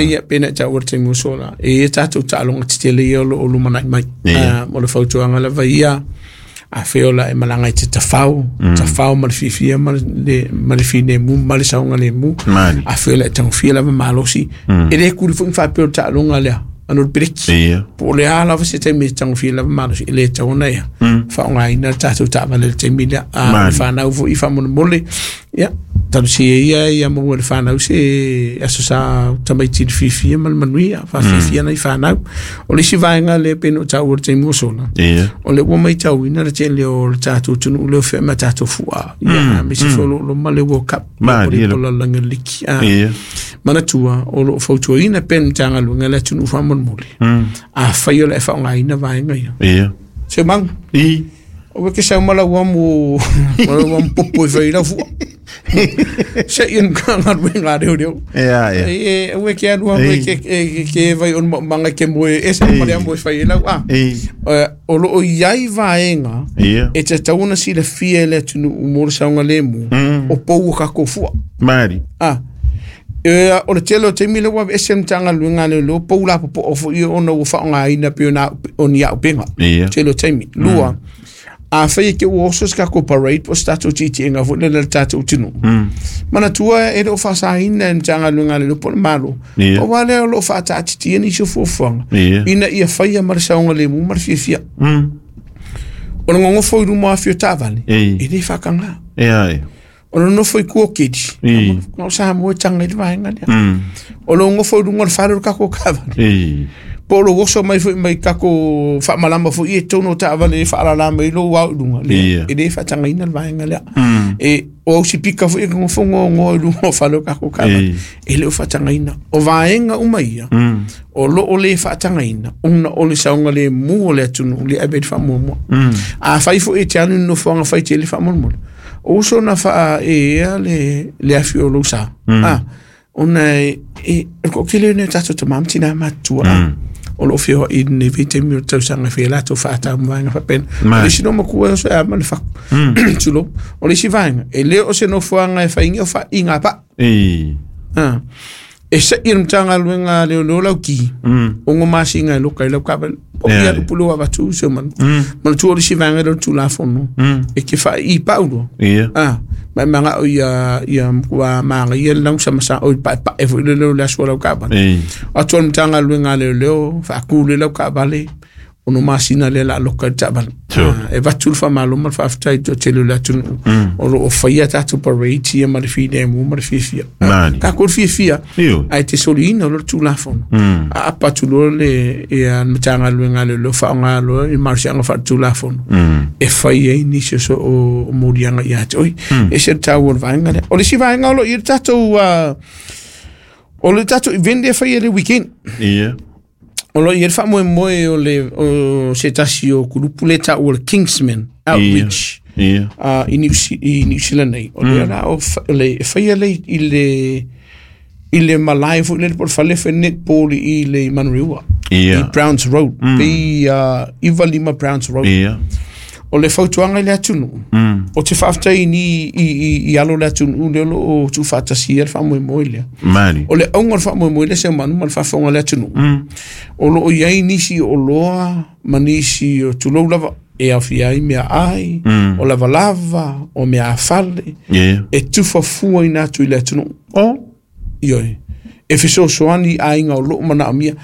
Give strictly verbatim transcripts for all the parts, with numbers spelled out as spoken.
tele ia pe na taua le taimi ua sola e i ai tatou taaloga tetele ia o loo lumanai mai. Ia. O le fautuaga lava ia, afai o la e malaga i te tafao, tafao ma le fiafia ma le ma le filemu ma le saogalemu. Mali. Afai o la e tagofia lava malosi, e le kuli foi ma faapea o le taaloga lea ano le peleki. Ia. Po o le a lava se taimi e tagofia lava malosi, e le tatau ona ia faaaogaina le tatou taavale i le taimi lea. A o le Mali. fanau foi faamolemole, ia talosia ia ia maua e le fanau se aso sa tamaiti i le fiafia ma le manuia, faafiafia nai fanau. O le isi vaega lea pei ona ou taua i le taimi ua sola, Ia. o le ua matauina le tele o le tatou atunuu lea o feai ma tatou fua, ia aemaise foi o lo o loma le World Cup Malie po o le lalolagi o le liki. Ah, Ia. manatua o lo o fautuaina pea le Matagaluega le atunuu faamolemole, afai o le e faaaogaina vaega ia. Ia. Se mau I. o ke sau mala ua mo mala ua mo popo e fai lau fua. Se i nga galuega a leoleo. Ia, ia. E e ue ke alu au e ke e ke vai o manga ke moe e se male mo e fai lau a. I. Eh, O lo o iai vaega Ia. e tatau ona silafia e le atunuu mo le saogalemu o pou o kakou fua. Mali. Ah. E, o le tele o taimi le ua aveese le Matagaluega a Leoleo pou lapopoa foi ona ua faaaogaina pei ona o ni auupega. Ia. Tele o taimi. Lua, afai e te ua oso se tatou parade po o se tatou tiitiiga foi lele a le tatou atunuu. Manatua e le o faasaina e le Matagaluega a Leoleo po o le Malo. Ia. Pau lava lea o lo o faataatitia nisi o fuafuaga Ia. ina ia faia ma le saogalemu ma le fiafia. Mm. O le gogofo i luma o afio taavale, Ei. e le faataga. Ia, ia. O le nofo i kuokeli, Ei. na o Samoa e taga i le vaega lea. Mm. O le gogofo i luga o le fale o le tatou taavale. Ei. Po o lou oso mai foi mai tatou faamalama foi i totonu o taavale e faalala mai lou ao i luga. Lea, Ia. e le faatagaina le vaega lea. Mm. E o au sipika foi e gogofo gogoa i luga o fale o tatou taavale. Ei. E le o faatagaina. O vaega uma ia, Mm. o loo le faatagaina, ona o le saogalemu o le atunuu le ave i le faamuamua. Mm. Afai foi e te alu i le nofoaga faitele faamolemole, o uso na faaeea le, le afi o lou sa. Ah, ona e, e, o le toatele lenei o tatou tama ma tinā matutua, ah, o loo feoai i lenei vaitaimi o le tausaga e fai ai latou faatau ma vaega faapena. O Mai. le isi no matua e oso e ama le faku. Tulou. O le isi vaega, e le o se nofoaga e faaiga o faaiga paa. Ei. Ah. E sa'i le Matagaluega a Leoleo lau ki, Mm. ono masina e loka i lau taavale. Po Ia, ia ia. lupu lua avatu se manu. Mm. Manatua o le isi vaega lea o le Tulafono, Mm. e ke faai'i pau loa. Ia. Ah, ma e maga'o ia ia matua magaia le lausamasa o i pa'epa'e foi le leo le aso o lau taavale. Ei. Atu o le Matagaluega a Leoleo, faakū le lau taavale, ono masina lea o le a loka i le taavale. Sure. Ah, e avatu le faamalo ma le faafetai i le toatele o le atunuu o loo faia tatou parade ia ma le filemu ma le fiafia. Ah, Mali. Tatou le fiafia Io. ae te soliina loa le Tulafono. Mm. Aapa atu loa le ia le Matagaluega a Leoleo faaaoga loa i malosiaga faaletulafono Mm. e fai ai nisi o so o o moliaga ia te oe. E ese le taua o le vaega lea. O le isi vaega o loo i le tatou ah, o le tatou event lea e faia i le weekend. Ia. O loo i ai le faamoemoe o le o se tasi o kulupu le taua o le Kingsman Outreach Ia. uh, i New, i New Zealand nei. O lea la o fa- le e faia le i le i le malae foi lele po o le fale fai netball i le Manurewa. Ia. I Browns Road. Mm. Pe uh, iva lima Browns Road. Ia. O le fautuaga i le atunuu. Mm. O te faafetai ni i, i, i alo le atunuu lea o loo tuufaatasia le faamoemoe lea. Mali. O le auga o le faamoemoe lea se manu ma le faafofoga o le atunuu. Mm. O loo i ai nisi o oloa ma nisi o tulou lava e aofia ai meaai, Mm. o lavalava, o meaafale, Ia. e tufafuaina atu i le atunuu. O. Ioe. E fesoasoani i aiga o loo manaomia.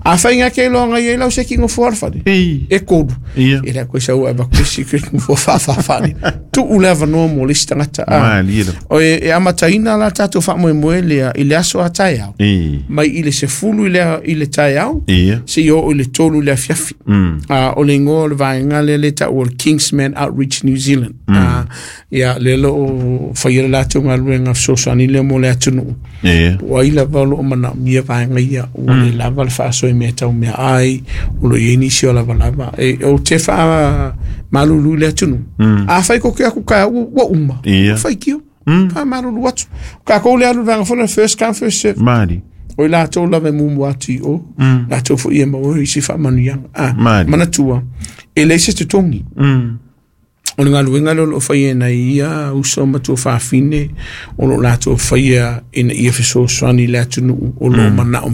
Afai ga ke iloaga i ai lau seki gofoa o le fale, Ei. e kolu. Ia. E le koe sau e avatu isi ke gofoa faafaafale. Tuu le avanoa mo le isi tagata. Ah. Malie lava. O e, e amataina la tatou faamoemoe lea i le aso a taeao. Ei. Mai i le sefulu i le, i le taeao, Ia. seia oo i le tolu i le afiafi. Mm. Ah, o le igoa o le vaega lea le taua o le Kingsman Outreach New Zealand. Ah, ia, lea o loo faia le latou galuega fesoasoani lea mo le atunuu. Ia. Po o ai lava o loo manaomia vaega ia, ua le lava le faasoa i mea tau meaai, o loo i ai nisi o lavalava. E, o te faamalulu i le atunuu. Afai koke aku taeao ua ua uma, Ia. ua faitio. Mm. Faamalulu atu. O takou le alu i le vaega foi lea first come first serve. Mali. O i latou lava e muamua atu i o, latou foi e maua isi faamanuiaga. Ah, Mali. manatua, e leai se totogi. Mm. O le galuega lea o loo faia e nai ia uso ma tuafafine o loo latou faia ina ia fesoasoani i le atunuu o loo manao